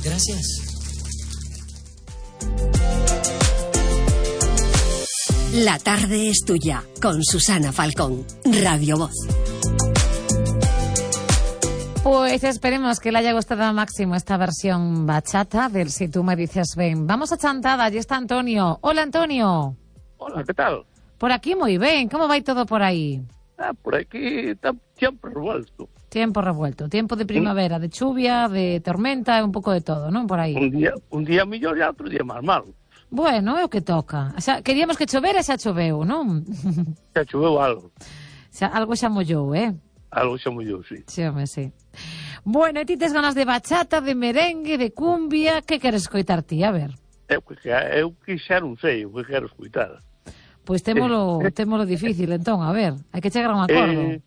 Gracias. La tarde es tuya, con Susana Falcón, Radio Voz. Pues esperemos que le haya gustado al máximo esta versión bachata del Si tú me dices ven. Vamos a Chantada, allí está Antonio. Hola, Antonio. Hola, ¿qué tal? Por aquí muy bien, ¿cómo va todo por ahí? Por aquí está tiempo revuelto. Tiempo revuelto, tiempo de primavera, de lluvia, de tormenta, un pouco de todo, ¿no? Por aí. Un día mellor e outro día máis malo. Bueno, é o que toca. Xa, queríamos que chovera e xa choveu, non? Xa choveu algo. Algo xa mollou, Algo xa mollou, sí. Sí, home, sí. Bueno, e ti tes ganas de bachata, de merengue, de cumbia, que queres escoitar ti? A ver. Eu que xa non sei o que quero escoitar. Pois témolo difícil, entón, a ver, hai que chegar a un acordo.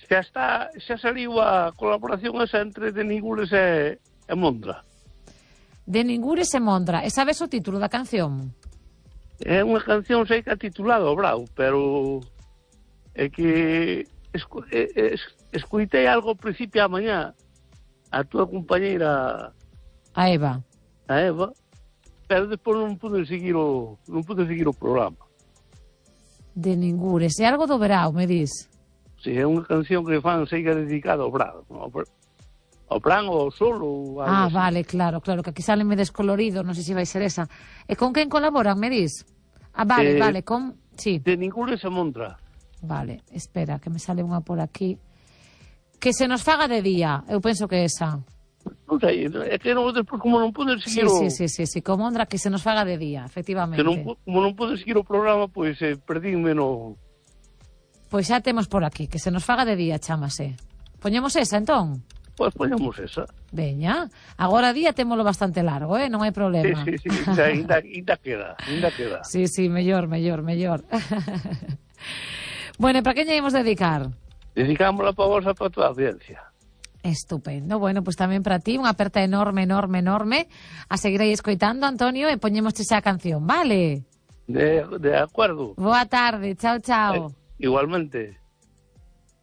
Xa saliu a colaboración esa entre De Ningures e Mondra. De Ningures e Mondra. E sabes o título da canción? É unha canción, sei que é titulada O Brau, pero é que escoitei algo ao principio a mañá a túa compañeira a Eva, pero despois non pude seguir o programa. De Ningures. É algo do Brau, me dis? Si, é unha canción que fan, sei que é dedicada ao Brau, ao plan ou ao sol ou algo así. Vale, claro, que aquí sale me descolorido, non sei se vai ser esa. E con quen colaboran, me dis? Vale, con... Sí. De Ningures e Mondra. Vale, espera, que me sale unha por aquí. Que se nos faga de día, eu penso que esa. Non sei, é que despois como non pude seguir Sí, con Mondra, que se nos faga de día, efectivamente. Como non pude seguir o programa, pois perdínme no... Pois xa temos por aquí, que se nos faga de día, chámase. Poñemos esa, entón? Pois poñemos esa. Veña, agora día témolo bastante largo, non hai problema. Sí, ainda queda. Sí, mellor. Bueno, e para quen lle imos dedicar? Dedicámosla para vos, para toda a audiencia. Estupendo. Bueno, pues tamén para ti, unha aperta enorme. A seguir aí escoitando, Antonio, e poñémoste xa a canción, vale? De acordo. Boa tarde, chao. Igualmente.